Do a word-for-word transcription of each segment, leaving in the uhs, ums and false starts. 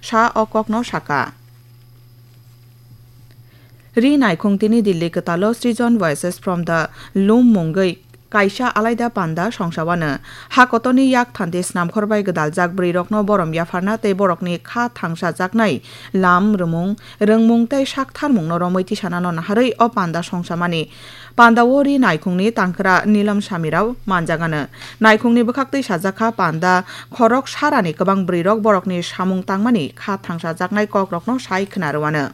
sa o kokno saka. Ri naikhung tini Delhi kwtalo Srijan Voices from the Loom mungwi kaisa alaida panda songsa wano. Ha kotorni yak thanti snamkhor bai gwdaljak bwrwirokno borom yapharna tei borokni kha thangsajaknai lam, rwmung, rwngmung tei saktharmungno romwi tisanano naharwi o panda songsamani. Pandao ri naikhungni tangkra Nilam Samirao manjagano. Naikhungni bwkhaktwi sajakha panda khorok sarani kwbang bwrwirok borokni samung tangmani kha thangsajaknai kokrokno sai khna rwano.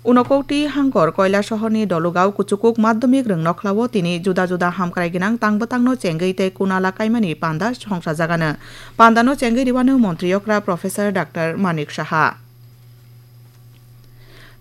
Unakoti hangkor Koilasohorni Dolugao kuchukuk madhyamik rwngnokhlao tini juda juda hamkrai gwnang tang bwtangno chengwi tei kunala kaimani panda songsajagano. Pandano chengwi rwano montri okra Professor Doctor Manik Saha.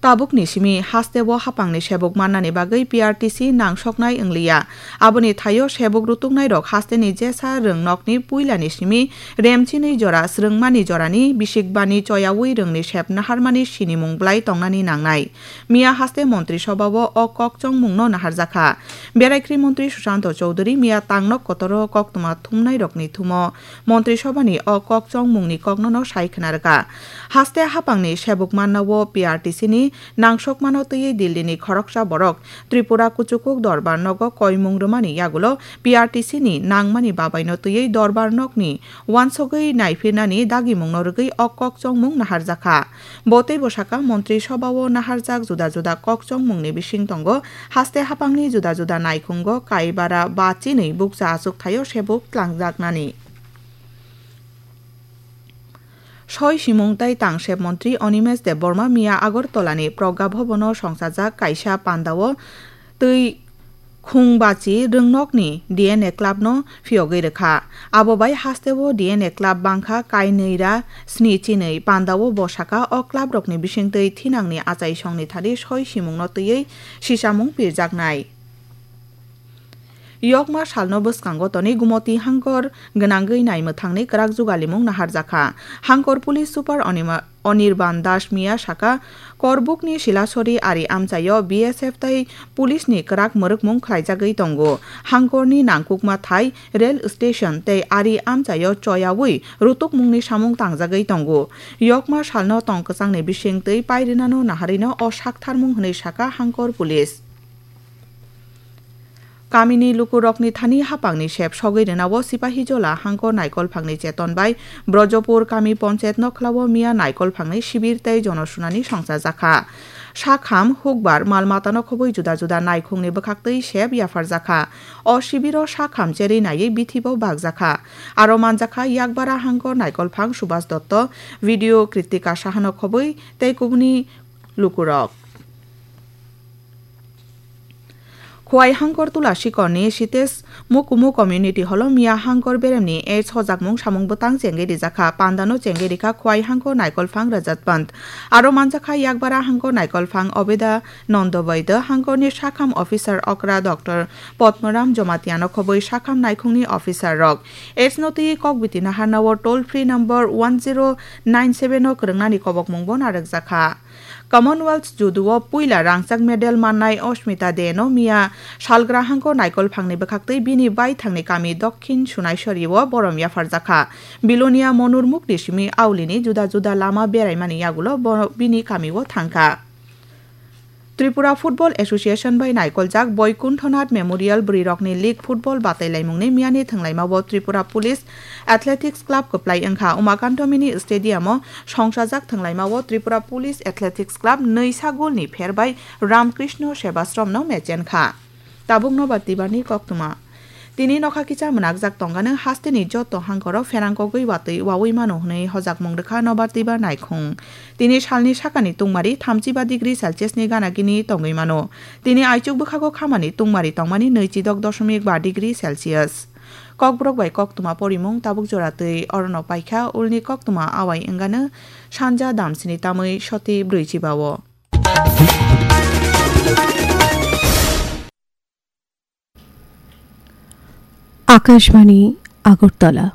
Tabukni simi hasteo hapangni sebuk mannani bagwi P R T C nangsoknai wngliya. Aboni thaio sebuk rutuknairok hasteni jesa rwngnokni puilani simi remchinwi jora swrwngmani jorani bisikbani choyaui rwngni sep naharmani sinimung bwlai tongnani nangnai. Miya haste montri sobao o kok chongmungno naharjakha. Beraikri montri Susanto Chowdhury miya tangnok kotoro koktwma thumnairokni thumo montri sobani o kok chongmungni koknono sai khna rwkha. Haste hapangni sebuk mannao P R T C ni nangsokmano twiwi Delhi ni khoroksa borok Tripura kuchukuk dorbar nogo koimung rwmani yagulo P R T C ni nangmani babaino twiwi dorbar nokni uansugwi naipirnani dagimungno rwgwi o kok chongmung naharjakha. Bo teibo saka, montri sobao naharjak juda juda kok chongmungni bising tongo, haste hapangni juda juda naikhungo kaibara ba chinwi bukcha achuk thaio sebuk tlangjaknani. Soi simung tei tangsep montri Animesh Debbarma miya Agartala ni Pragya Bhavan o songsajak kaisa pandao twi khung bachi rwngnokni D N A club no phiyogwi rwkha. Abo bai hasteo D N A club bangkha kainwi ra sni chinwi. Pandao bo saka o club rokni bisingtwi thinangni achaisongni thani soi simungno twiwi sisamung pirjaknai. Yokma salno bwskango tonwi Gumoti hangkor gwnangwi naimwthangni kwrak jugalimung naharjakha. Hangkor police super Onima-, Anirban Das miya saka, Korbukni Silasori ari amchaio B S F tei police ni kwrak mwrwkmung khlaijagwi tongo. Hangkorni nangkukma thai rail station tei ari amchaio choyaui rutukmungni samung tangjagwi tongo. Yokma salno tong kwchangni bisingtwi pairinano naharino o saktharmung hwnwi saka Hangkor police. Kamini lukurokni thani hapangni sep sogwi rwnao Sipahijola hangkor naikolphangni cheton bai Brojopur kami ponchayat nokhlao miya naikolphangni sibir tei jonosunani songchajakha. Sakham hukbar mal matano khobwi juda juda naikhungni bwkhaktwi sep yapharjakha. O sibiro sakham cherwi naiwi bithibo bakjakha. Aro manjakha Yakbara hangkor naikolphang Subhas Dotto, video Kritika Sahano khobwi tei kubuni lukurok. Khowai hangkor Tulasikorni Sitesh Mukumu Community Hall-o miya hangkor beremni AIDS hojakmung samung bwtang chengwi rijakha. Pandano chengwi rikha Khowai hangkor naikolphang Rajat Pant. Aro manjakha Yakbara hangkor naikolphang Obeda Nondo Baidya, hangkorni sakham officer okra Doctor Padmaram Jomatiano khobwi sakham naikhungni officer rok. AIDS no twiwi kok biti naharnao toll free number one zero nine seven o kwrwngnani kobokmungbo narwkjakha. Commonwealth judo-o puila rangchak medal mannai Oshmita De no miya salgra hangkor naikolphangni bwkhaktwi bini baithangni kami Dokhin Sunaisori-o borom yapharjakha. Bilonia Monur Mukti simi Aulini juda juda lama beraimani yagulo bo-, bini kamio thangkha. Tripura Football Association bai naikoljak Boikunthanath Memorial bwrwirokni league football batailaimungni miyani thwnglaimao Tripura Police Athletics Club kwplai wngkha. Umakanto Mini Stadium-o songsajak thwnglaimao Tripura Police Athletics Club nwisa golni pher bai Ramkrishna Sebasromno mechenkha. Tabuk nobar twibarni koktwma. Tini nokha kisa mwnakjak tongano hasteni joto hangkoro pherangkogwi watwi wawi mano hwnwi hojakmung rwkha nobar twibar naikhung. Tini salni sakani tungmari thamchiba degree Celsius ni gana gini tongwi mano. Tini aichuk bwkhago khamani tungmari tongmani nwichidok dosomik ba degree Celsius. Kokborok bai koktwma porimung tabuk jora twi orono paikha, ulni koktwma awai wngano sanja damsini tamwi soti brwichiba-o. Akashbani Agartala.